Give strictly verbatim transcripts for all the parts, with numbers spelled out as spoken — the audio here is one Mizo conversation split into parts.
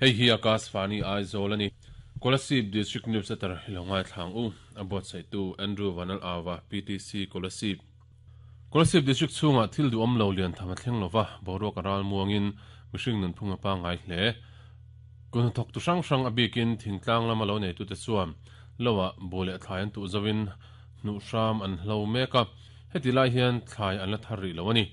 Hei hi Akashvani Aizawl ani. Kolasib District News Center hilongai thlang u abot sai tu Andrew Vanal Awa P T C Kolasib. Kolasib District chunga thil du om lo lian thama thleng lova boruak aral muangin mihring nun phunga pa ngai hle. Kun thok tu hrang hrang abikin thingtlang lama lo nei tu te chuan lowa bole thlai an tu zawin nu hram an hlo meka heti lai hian thlai an la thar ri lo ani.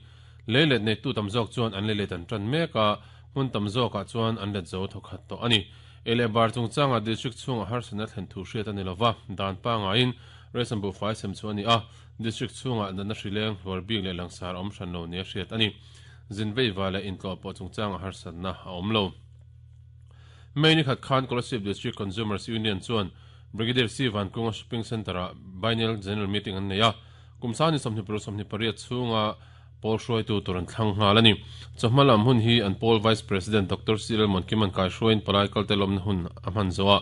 Le let nei tu tam zawk chuan an le let an tran meka mun tam zawk ah chuan an let zo thokhat to ani. Ele bar chung changa district chunga har sana thlen thu hriat ani lova dan pa nga in ration bu fai sem chu ani a. District chunga na hrileng hlawr bik le langsar om hran lo nia hriat ani. Zin vei wala in tlo po chung changa har sanna a awm lo. Mei khat khan Kolasib District Consumers Union chuan Brigadier C Van Kunga Shopping Center a biennial general meeting an nei a. Kumsani sawmhnih paruk sawmhnih pariat chhunga pawl hruaitu tur an thlang nghal ani. Chawhma lam hun hi an pawl Vice President Doctor Cyril Monkiman kai hruain palai kalte lawmna hun a hman zo a.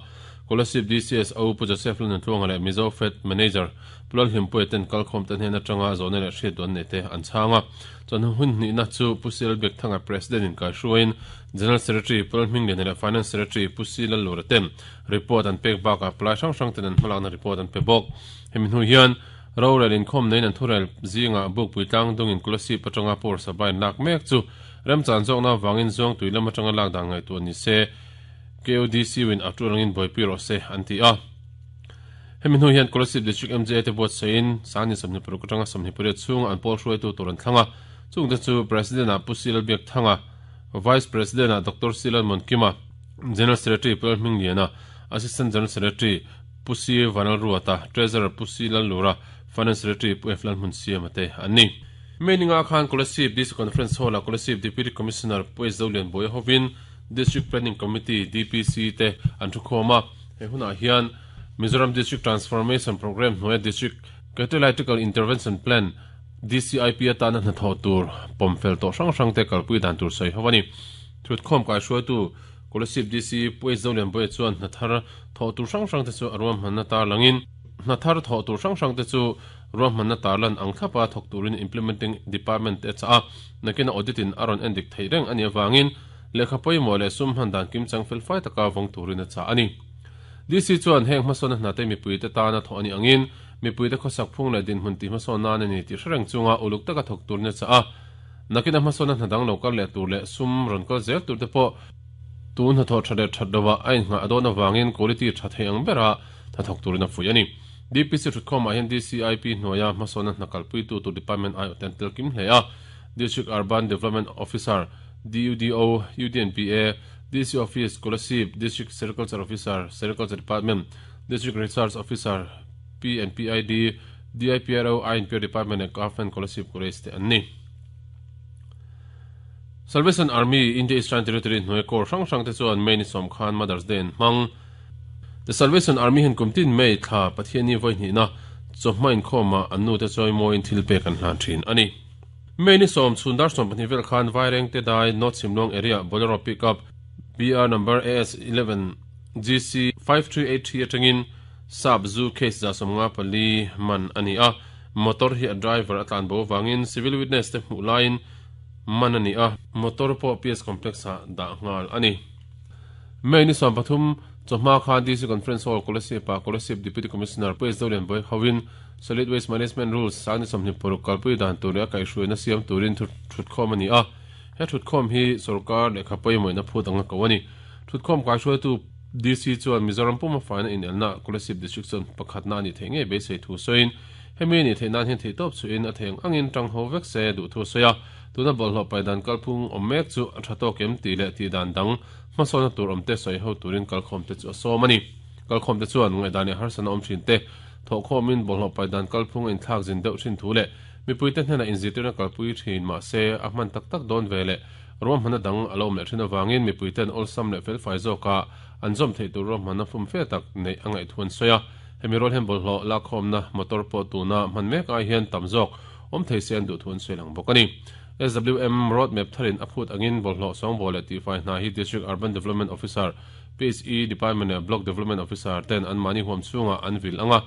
Kolasib D C S O Pu Joseph Lun Tluanga leh Mizo Fed Manager Pulal Hlimpui ten kalkhawm ten hnen atanga zawhna leh hriat duan nei te an chhanga. Chuan hun hnihna chu Pu Cyril Biakthanga President in kai hruain General Secretary Pulal Hminglian leh Finance Secretary Pu Silal Lura ten report an pek bakah palai hrang hrang ten an hmalakna report an pe bawk. Hemi hnu hian rorel inkhawm nein an thurel zinga buk puitlang dungin Kolasib atanga por sabain lak mek chu remchan zawkna wangin zawng tui lam atanga lak dan ngai tu ani se K O D C win aturangin boipi ro se an ti a. Hemi hnu hian Kolasib District M J te buat sein sani sawmhnih paruk atanga sawmhnih pariat chhung an pawl hruaitu tur an thlanga. Chung te chu President a Pu Silal Biak Thanga, Vice President a Doctor Silal Monkima, General Secretary Pulal Hmingliana, Assistant General Secretary Pu C Vanal Ruata, Treasurer Pu Silal Lura, Finance Secretary Pu F Lal Hmun Siam te an ni. Meninga khan Kolasib D C Conference Hall a Kolasib Deputy Commissioner Pu S Zolian Boy hovin District Planning Committee D P C te an thu khawma. He hunah hian Mizoram District Transformation Program hnuaia District Catalytical Intervention Plan D C I P atana hna thawh tur pawmfel tawh hrang hrang te kalpui dan tur sawi ho ani. Thut khawm kai hruaitu Kolasib D C Pu S Zolian Boy chuan hna thar thawh tur hrang hrang te chu a ruam hmanna tar langin hna thar thawh tur hrang hrang te chu ruam hmanna tarlan ang thlapa thawk turin implementing department te cha a nakina audit in aron endik thei reng ani awangin lehkha pawimawh leh sum hman dan kim chang fel fai taka vawng turin a cha ani. D C chuan heng hmasawn hna te mipui te tana thawh ani angin mipui te khawsak phung leh dinhmun ti hmasawn nan ani tih hrereng chunga uluk taka thawk turin a cha a. Nakina hmasawn hna dang lo kal leh tur leh sum rawn kal zel tur te pawh tun hna thawh tha leh that lova a inngah a dawn awangin quality tha thei ang bera hna thawk turin a fuih ani. D P C thutkhawmah hian D C I P hnuaia hmasawn hna kalpui tu tur department ai ten tel kim hle a. District Urban Development Officer D U D O, U D N P A, D C Office Kolasib, District Sericulture Officer, Sericulture Department, District Research Officer, P N P I D, D I P R O, I N P Department and Government Kolasib College te an ni. Salvation Army India Eastern Territory hnuai kor hrang hrang te chuan May ni sawm khan Mother's Day an hmang. The Salvation Army hen kumtin May thla Pathiani voi hnih na chawhma inkhawma an nu te chawi mawiin thil pek an hlan thin ani. May ni sawm chhundar sawm pahnih vel khan Vaireng te dai North Simlong area Bolero pickup B R number A S eleven G C five three eight three atangin sap zu case za sawmnga pali man ani a. Motor hi a driver atlan bo wangin civil witness te hmuh laiin man ani a. Motor pawh P S complex ah dah nghal ani. May ni sawm pathum chawhma khan D C Conference Hall Kolasib pa Kolasib Deputy Commissioner Pu S Zolian Boy hovin Solid Waste Management Rules sangni sawmhnih paruk kalpui dan tur leh a kaihhruaina siam turin thutkhawm ani a. He thutkhawm hi sarkar lehkha pawimawhna phut anga ko ani. Thutkhawm kaihhruaitu D C chuan Mizoram puma faina in elna Kolasib District chuan pakhatna ani thei ngei beisei thu sawiin hemi ni thei nan hian thei tawp chuin a theng angin tang ho vek se duh thu sawi a. Tuna bawlhhlawh paidan kalphung awm mek chu a tha tawk em tih leh tih dan dang hmasawna tur awm te sawi ho turin kalkhawm te chu a sawm ani. Kalkhawm te chuan ngaihdan leh harsana awm thin te thawhkhawmin bawlhhlawh paidan kalphung in thlak zin deuh thin thu leh mipui te hnena inzirtirna kalpui thin mah se a hman tak tak dawn ve leh ruahmanna dang a lo awm leh thin awangin mipui ten awlsam leh felfai zawka an zawm theih tur ruahmanna fum fe tak neih a ngaih thu an sawi a. Hemi rual hian bawlhhlawh lakkhawmna motor pawh tuna hman mek ai hian tam zawk awm thei se an duh thu an sawi lang bawk ani. S W M roadmap tharin a phut angin bawlhhlawh sawngbawl leh tifai hna hi District Urban Development Officer, P H E Department leh Block Development Officer ten an mahni huam chhunga an vil anga.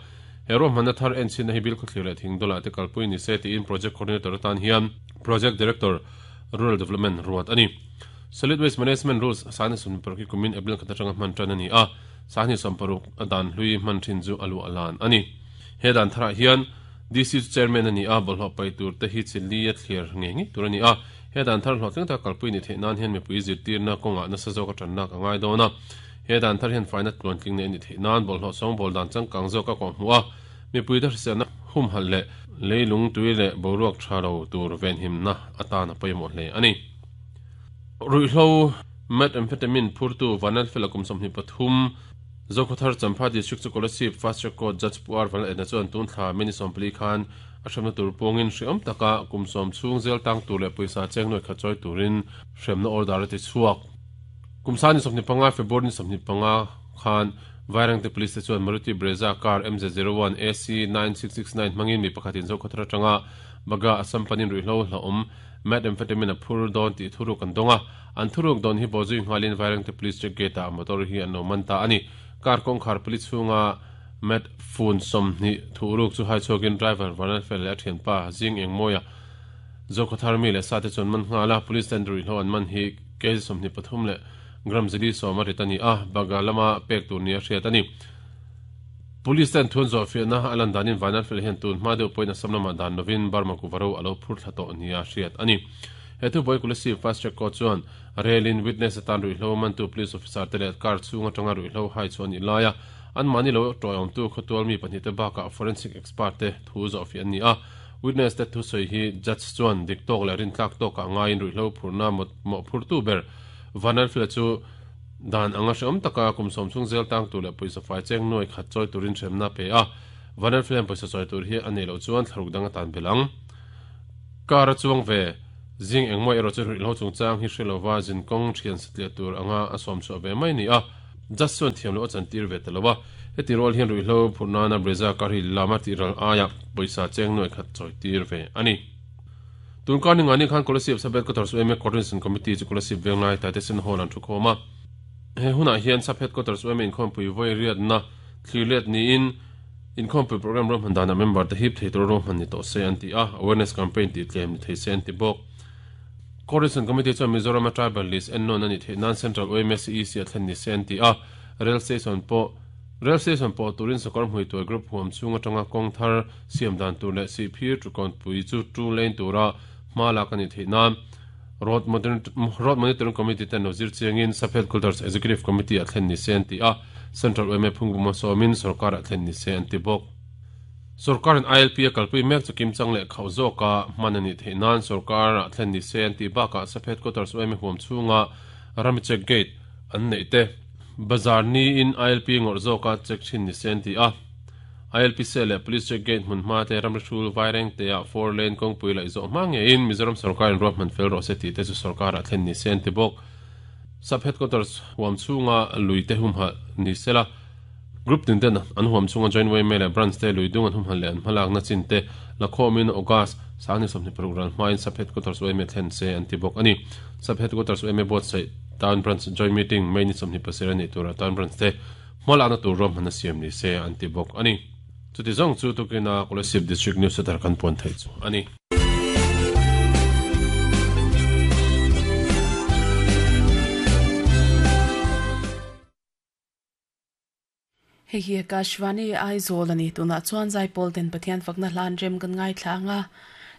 He ruahmanna thar en chhin na hi bil khawthlir leh thingdawlah te kalpui ni se tiin Project Coordinator atan hian Project Director Rural Development ruat ani. Solid Waste Management Rules sani sum paruk hi kumin April khat atanga hman tan ani a sani som paruk adan hlui hman thin chu alu alan ani he dan thara hian D C chairman ani a bolho pai tur te hi chili a thlir nge nge tur ani a he dan thar hlawhtling ta kalpui ni the nan hian mipui zirtir na kawnga nasa zawk a tan nak angai dawn a he dan thar hian faina tluan tling ne ni the nan bolho song bol dan chang kang zawk a kawng hmu a mipui te hrisel na hum hal le leilung tui le boruak tha lo tur ven him na atana pawimawh hle ani ruihhlo methamphetamine phurtu vanal felakum somhni pathum Zokhothar Champhai District chu Kolasib Fast Track Court Judge Puar Vanal edna chuan tun thla mini sawmpli khan a hremna tur pawngin hriawm taka kum sawm chhung zel tang tur leh pawisa cheng nuai khat chawi turin hremna order a ti chhuak kumsani sawmhni panga February ni sawmhni panga khan Vairengte Police te chuan Maruti Brezza car M Z zero one A C nine six six nine hmangin mi pakhatin Zokhothar atanga baga Assam panin ruihhlo hlauhawm methamphetamine a phur dawn tih thuruk an dawnga an thuruk dawn hi bawzui nghalin Vairengte Police check gate ah motor hi an lo man ta ani car kawngkhar police chhunga met phone sawmhnih thuruk chu hai chhuakin driver Vanal fel leh a thianpa zing engmawia Zokhothar mi leh sa te chuan man nghala police ten ruihhlo an man hi kg sawmhnih pathum leh gram zili sawm a rit ani a baga lama pek tur ni a hriat ani police ten thun zawh fiahna a lan danin Vanal fel hian tun hma deuh pawhin Assam lamah dan lovin Burma kuvaro alo phur thla tawh ni a hriat ani he thu boi Kolasib Fast Track Court chuan relin witness atan ruihhlo mantu police officer te leh car chhung atanga ruihhlo hai chuan ni laia an mani lo tawng tu khawtual mi pahnih te bakah forensic expert te thu zawh fiah ani a witness te thu sawi hi judge chuan dik tawk leh rin tlak tawkah ngaiin ruihhlo phurna mawh phurtu ber Vanal fel chu dan anga hreawm taka kum sawm chhung zel tang tur leh pawisa fai cheng nuai khat chawi turin hremna pe a Vanal fel hian pawisa chawi tur hi a nei loh chuan thlaruk dang atan belang car a chuang ve zing engmaw erawh chu ruihhlo chungchang hi hrelova zinkawng thian satliah tur anga a sawm chhuah ve mai ni a just chuan thiam loh a chantir ve talowa heti rual hian ruihhlo phurnana Brezza car hi lama tih ral aia pawisa cheng nuai khat chawi tir ve ani tun kar ni ngani khan Kolasib Sub Headquarters U M A Coordination Committee chu Kolasib Venglai Taitesen Hall an thu khawm a he hunah hian Sub Headquarters U M A inkhawmpui vawi riatna thlir let niin inkhawmpui program rawm hman dana member te hip thei tur rawm hman ni tawh se an ti a awareness campaign tih tlem ni thei se an ti bawk Coordination Committee chuan Mizoram a tribal list en nawn ani theih nan Central U M A C E C a thlen ni se an ti a rail station pawh rail station pawh turin sawkar hmui tuai group huam chhung atanga kawng thar siam dan tur leh sihphir tukawn pui chu two lane tura hma lak ani theih nan Road Road Monitoring Committee ten lo zir chiangin Sub Headquarters Executive Committee a thlen ni se an ti a Central U M A phungbuma sawmin sarkar a thlen ni se an ti bawk sarkarin I L P a kalpui mek chu kimchang leh khauh zawka hman ani theih nan sarkar a thlen ni se an ti bakah Sub Headquarters U M A huam chhunga rami check gate an nei te bazar ni in I L P ngawr zawka check thin ni se an ti a I L P se leh police check gate hmun hma te ramri vaireng te a four lane kawngpui laih zawh hma ngeiin Mizoram sarkarin ruah hman fel rawh se tih te chu sarkar a thlen ni se an ti bawk Sub Headquarters huam chhunga lui te hum ha ni sela group tin ten an huam chhunga joint way me leh branch te lui dung an hum han leh an hmalak na chin te lakhawmin August sangni sawmhnih paruk ral hmain Sub Headquarters U M A thlen se an ti bawk ani Sub Headquarters U M A board sei town branch joint meeting mai ni sawmhnih pasarih ani tura town branch te hmalak na tur rawm hman a siam ni se an ti bawk ani chuti zawng chu tukina Kolasib District News Center kan puan thei chu ani Hei hi Akashvani Aizawl ani tuna chuan Zaipawl ten Pathian fakna hlan rem kan ngai thlanga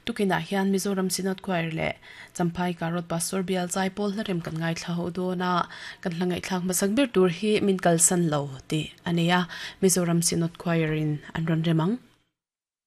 tukina hian Mizoram Synod Choir le Champhai Karot Pastor Bial Zaipawl hla rem kan ngai thla ho dona kan hlangai thlak masak ber tur hi min kalsan lo ti ania Mizoram Synod Choir in an ron remang.